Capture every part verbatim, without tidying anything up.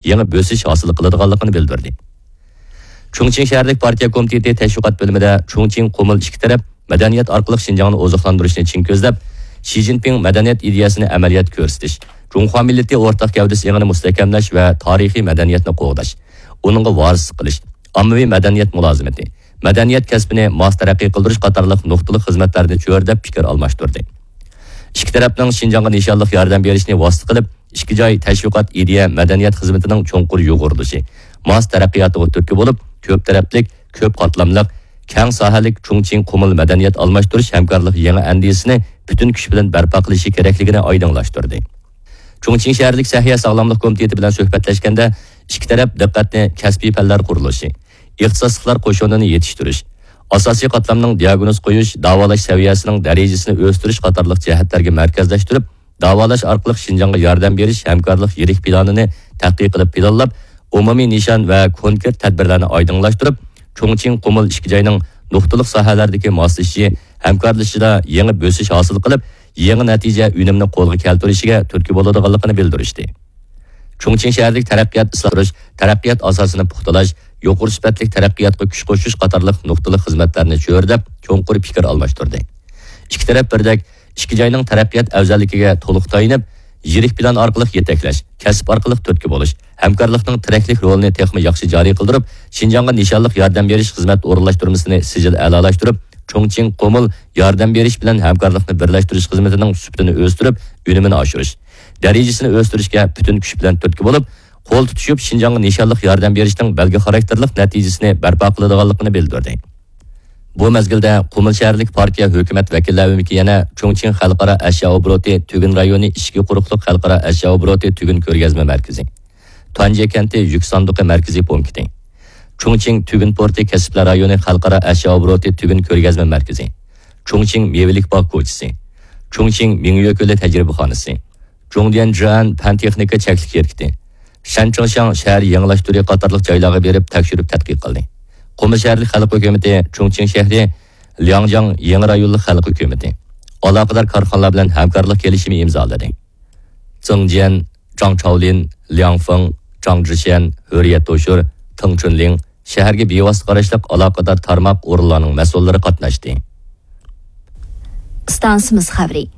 يېڭى بۆسۈش ھاسىل قىلىدىغانلىقىنى بىلدۈردى. چۇڭچىڭ شەھەرلىك پارتىيە كومىتېتى تەشۋىقات بۆلۈمىدە چۇڭچىڭ قۇمۇل ئىككى تەرەپ مەدەنىيەت ئارقىلىق شىنجاڭنى ئوزۇقلاندۇرۇشنى چىڭ كۆزلەپ، شى جىنپىڭ مەدەنىيەت ئىدىيەسىنى ئەمەلىيەتتە كۆرسىتىش، جۇڭخۇا مىللىتى ئورتاق گەۋدىسى ئېڭىنى مۇستەھكەملەش ۋە تارىخىي مەدەنىيەتنى قوغداش، ئۇنىڭغا ۋارىسلىق قىلىش، ئاممىۋى مەدەنىيەت مۇلازىمىتى، مەدەنىيەت كەسپىنى ماس تەرەققىي قىلدۇرۇش قاتارلىق نۇقتىلىق خىزمەتلەرنى چۆرىدەپ پىكىر ئالماشتۇردى. ئىككى تەرەپنىڭ شىنجاڭغا نىشانلىق ياردەم بېرىشنى ۋاسىتە قىلىپ، ئىككى جاي تەشۋىقات، ئىدىيە، مەدەنىيەت خىزمىتىنىڭ چوڭقۇر يۇغۇرۇلۇشى، ماس تەرەققىياتىغا تۈرتكە بولۇپ، كۆپ تەرەپلىك، كۆپ قاتلاملىق، كەڭ ساھەلىك چۇڭچىڭ قۇمۇل مەدەنىيەت ئالماشتۇرۇش ھەمكارلىق يېڭى ئەندىزىسىنى پۈتۈن كۈچ بىلەن بەرپا قىلىشى كېرەكلىكىنى ئايدىڭلاشتۇردى. چۇڭچىڭ شەھەرلىك سەھىيە ساغلاملىق كومىتېتى بىلەن سۆھبەتلەشكەندە، ئىككى تەرەپ دىققەتنى كەسپىي پەنلەر قۇرۇلۇشى، ئىختىساسلىقلار قوشۇنىنى يېتىشتۈرۈش، ئاساسىي قاتلامنىڭ دىياگنوز قويۇش، داۋالاش سەۋىيەسىنىڭ دەرىجىسىنى ئۆستۈرۈش قاتارلىق جەھەتلەرگە مەركەزلەشتۈرۈپ، داۋالاش ئارقىلىق شىنجاڭغا ياردەم بېرىش ھەمكارلىق يىرىك پىلانىنى تەتقىق قىلىپ پىلانلاپ، ئومۇمىي نىشان ۋە كونكرېت تەدبىرلەرنى ئايدىڭلاشتۇرۇپ، چۇڭچىڭ قۇمۇل ئىككى جاينىڭ نۇقتىلىق ساھەلەردىكى ماسلىشىشى، ھەمكارلىشىشىدا يېڭى بۆسۈش ھاسىل قىلىپ، يېڭى نەتىجە ئۈنۈمنى قولغا كەلتۈرۈشىگە تۈرتكە بولىدىغانلىقىنى بىلدۈرۈشتى. چۇڭچىڭ شەھەرلىك تەرەققىيات ئىسلاھ قىلىش، تەرەققىيات ئاساسىنى پۇختىلاش، يۇقىرى سۈپەتلىك تەرەققىياتقا كۈچ قوشۇش قاتارلىق نۇقتىلىق خىزمەتلەرنى چۆرىدەپ، چوڭقۇر پىكىر ئالماشتۇردى. ئىككى تەرەپ بىردەك ئىككى جاينىڭ تەرەققىيات ئەۋزەللىكىگە تولۇق تايىنىپ، يىرىك پىلان ئارقىلىق يېتەكلەش، كەسىپ ئارقىلىق تۈرتكە بولۇش، ھەمكارلىقنىڭ تىرەكلىك رولىنى تېخىمۇ ياخشى جارى قىلدۇرۇپ، شىنجاڭغا نىشانلىق ياردەم بېرىش خىزمەت ئورۇنلاشتۇرمىسىنى سىجىل ئەلالاشتۇرۇپ، چۇڭچىڭ قۇمۇل ياردەم بېرىش بىلەن ھەمكارلىقنى بىرلەشتۈرۈش خىزمىتىنىڭ سۈپىتىنى ئۆستۈرۈپ، ئۈنۈمىنى ئاشۇرۇش، دەرىجىسىنى ئۆستۈرۈشكە پۈتۈن كۈچ بىلەن تۈرتكە بولۇپ، قول تۇتۇشۇپ، شىنجاڭغا نىشانلىق ياردەم بېرىشنىڭ بەلگە خاراكتېرلىق نەتىجىسىنى بەرپا قىلىدىغانلىقىنى بىلدۈردى. بۇ مەزگىلدە قۇمۇل شەھەرلىك پارتىيە ھۆكۈمەت ۋەكىللەر ئۆمىكى يەنە چۇڭچىڭ خەلقئارا ئەشيا ئوبوروتى تۈگۈن رايونى ئىچكى قۇرۇقلۇق خەلقئارا ئەشيا ئوبوروتى تۈگۈن كۆرگەزمە مەركىزى، تۇەنجيې كەنتى يۈك ساندۇقى مەركىزىي پونكىتى، چۇڭچىڭ تۈگۈن پورتى كەسىپلەر رايونى خەلقئارا ئەشيا ئوبوروتى تۈگۈن كۆرگەزمە مەركىزى، چۇڭچىڭ مېۋىلىك باغ كوچىسى، چۇڭچىڭ مىڭيۆ كۆلى تەجرىبىخانىسى، جۇڭديەن جىئەن پەن تېخنىكا چەكلىك شىركىتى، شەنچىڭشياڭ شەھەر يېڭىلاش تۈرى قاتارلىق جايلارغا بېرىپ تەكشۈرۈپ تەتقىق قىلدى. قۇمۇل شەھەرلىك خەلق ھۆكۈمىتى، چۇڭچىڭ شەھىرى، لياڭجياڭ يېڭى رايونلۇق خەلق ھۆكۈمىتى ئالاقىدار كارخانىلار بىلەن ھەمكارلىق كېلىشىمى ئىمزالىدى. زېڭجيەن، جاڭ چاۋلىن، لياڭ فېڭ، جاڭ جىشيەن، ھۆرىيەت توشۇر، تېڭ چۈنلىڭ، شەھەرگە بىۋاسىتە قاراشلىق ئالاقىدار تارماق ئورۇنلارنىڭ مەسئۇللىرى قاتناشتى. ئىستانسىمىز خەۋىرى.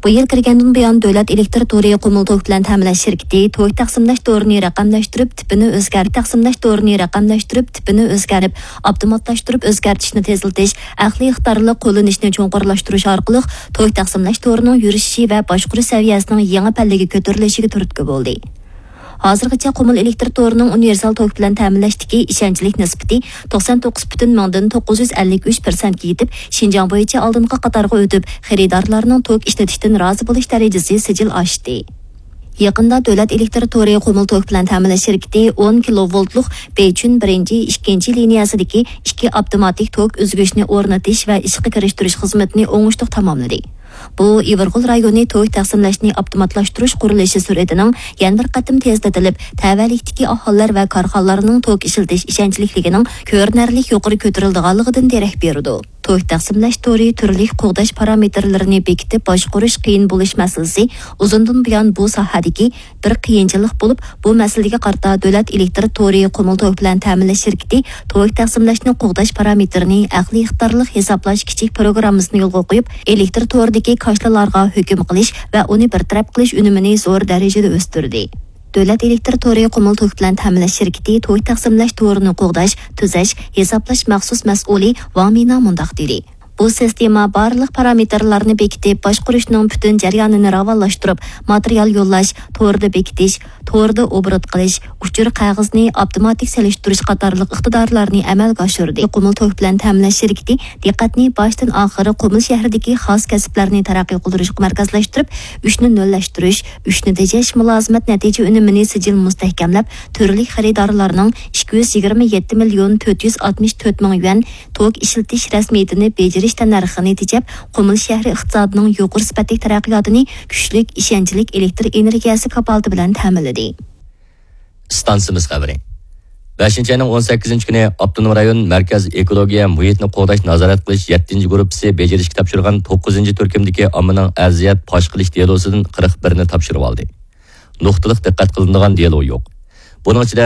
بۇ يىل كىرگەندىن بۇيان، دۆلەت ئېلېكتىر تورى قۇمۇل توك بىلەن تەمىنلەش شىركىتى توك تەقسىملەش تورىنى رەقەملەشتۈرۈپ، تىپىنى ئۆزگەرت-، تەقسىملەش تورىنى رەقەملەشتۈرۈپ، تىپىنى ئۆزگەرتىپ، ئاپتوماتلاشتۇرۇپ ئۆزگەرتىشنى تېزلىتىش، ئەقلىي ئىقتىدارلىق قوللىنىشنى چوڭقۇرلاشتۇرۇش ئارقىلىق توك تەقسىملەش تورىنىڭ يۈرۈشۈشى ۋە باشقۇرۇش سەۋىيەسىنىڭ يېڭى پەللىگە كۆتۈرۈلۈشىگە تۈرتكە بولدى. ھازىرغىچە قۇمۇل ئېلېكتر تورىنىڭ ئۇنىۋېرسال توك بىلەن تەمىنلەشتىكى ئىشەنچلىك نىسبىتى توقسان توققۇز پۈتۈن مىڭدىن توققۇز يۈز ئەللىك ئۈچ پىرسەنتكە يېتىپ، شىنجاڭ بويىچە ئالدىنقى قاتارغا ئۆتۈپ، خېرىدارلارنىڭ توك ئىشلىتىشتىن رازى بولۇش دەرىجىسى سىجىل ئاشتى. يېقىندا دۆلەت ئېلېكتر تورى قۇمۇل توك بىلەن تەمىنلەش شىركىتى ئون كىلوۋولتلۇق بېيچۈن بىرىنچى، ئىككىنچى لىنىيەسىدىكى ئىككى ئاپتوماتىك توك ئۈزگۈچنى ئورنىتىش ۋە ئىشقا كىرىشتۈرۈش خىزمىتىنى ئوڭۇشلۇق تاماملىدى. بۇ، ئىۋىرغول رايونى توك تەقسىملەشنى ئاپتوماتلاشتۇرۇش قۇرۇلۇشى سۈرئىتىنىڭ يەنە بىر قېتىم تېزلىتىلىپ، تەۋەلىكتىكى ئاھالىلەر ۋە كارخانىلارنىڭ توك ئىشلىتىش ئىشەنچلىكلىكىنىڭ كۆرۈنەرلىك يۇقىرى كۆتۈرۈلىدىغانلىقىدىن دېرەك بېرىدۇ. توك تەقسىملەش تورى تۈرلۈك قوغداش پارامېتىرلىرىنى بېكىتىپ باشقۇرۇش قىيىن بولۇش مەسىلىسى ئۇزۇندىن بۇيان بۇ ساھەدىكى بىر قىيىنچىلىق بولۇپ، بۇ مەسىلىگە قارىتا دۆلەت ئېلېكتر تورى قۇمۇل توك بىلەن تەمىنلەش شىركىتى توك تەقسىملەشنى قوغداش پارامېتىرىنى ئەقلىي ئىقتىدارلىق ھېسابلاش كىچىك پروگراممىسىنى يولغا قويۇپ، ئېلېكتر تورىدىكى كاشىلارغا ھۆكۈم قىلىش ۋە ئۇنى بىر تەرەپ قىلىش ئۈنۈمىنى زور دەرىجىدە ئۆستۈردى. دۆلەت ئېلېكتر تورى قۇمۇل توك بىلەن تەمىنلەش شىركىتى توك تەقسىملەش تورىنى قوغداش، تۈزەش، ھېسابلاش مەخسۇس مەسئۇلى ۋاڭ مىنا مۇنداق دېدى. بۇ سىستېما بارلىق پارامېتىرلارنى بېكىتىپ، باشقۇرۇشنىڭ پۈتۈن جەريانىنى راۋانلاشتۇرۇپ، ماتېرىيال يوللاش، توردا بېكىتىش، توردا ئوبوروت قىلىش، ئۇچۇر قەغىزىنى ئاپتوماتىك سېلىشتۇرۇش قاتارلىق ئىقتىدارلارنى ئەمەلگە ئاشۇردى. قۇمۇل توك بىلەن تەمىنلەش شىركىتى دىققەتنى باشتىن ئاخىر قۇمۇل شەھىرىدىكى خاس كەسىپلەرنى تەرەققىي قىلدۇرۇشقا مەركەزلەشتۈرۈپ، ئۈچنى نۆللەشتۈرۈش، ئۈچنى تېجەش، مۇلازىمەت نەتىجە ئۈنۈمىنى سىجىل مۇستەھكەملەپ، تۈرلۈك خېرىدارلارنىڭ ئىككى يۈز يىگىرمە يەتتە مىليون تۆت يۈز ئاتمىش تۆت مىڭ يۈەن توك ئىشلىتىش رەسمىيىتىنى بېجىرىش تەننەرخىنى تېجەپ، قۇمۇل شەھىرى ئىقتىسادىنىڭ يۇقىرى سۈپەتلىك تەرەققىياتىنى كۈچلۈك، ئىشەنچلىك ئېلېكتر ئېنېرگىيەسى كاپالىتى بىلەن تەمىنلىدى. ئىستانسىمىز خەۋىرى. بەشىنچى ئاينىڭ ئون سەككىزىنچى كۈنى ئاپتونوم رايون مەركەز ئېكولوگىيە مۇھىتنى قوغداش نازارەت قىلىش يەتتىنچى گۇرۇپپىسى بېجىرىشكە تاپشۇرغان توققۇزىنچى تۈركۈمدىكى ئاممىنىڭ ئەرزىيەت پاش قىلىش دېلوسىدىن قىرىق بىرنى تاپشۇرۇۋالدى. نۇقتىلىق دىققەت قىلىنىدىغان دېلو يوق. بۇنىڭ ئىچىدە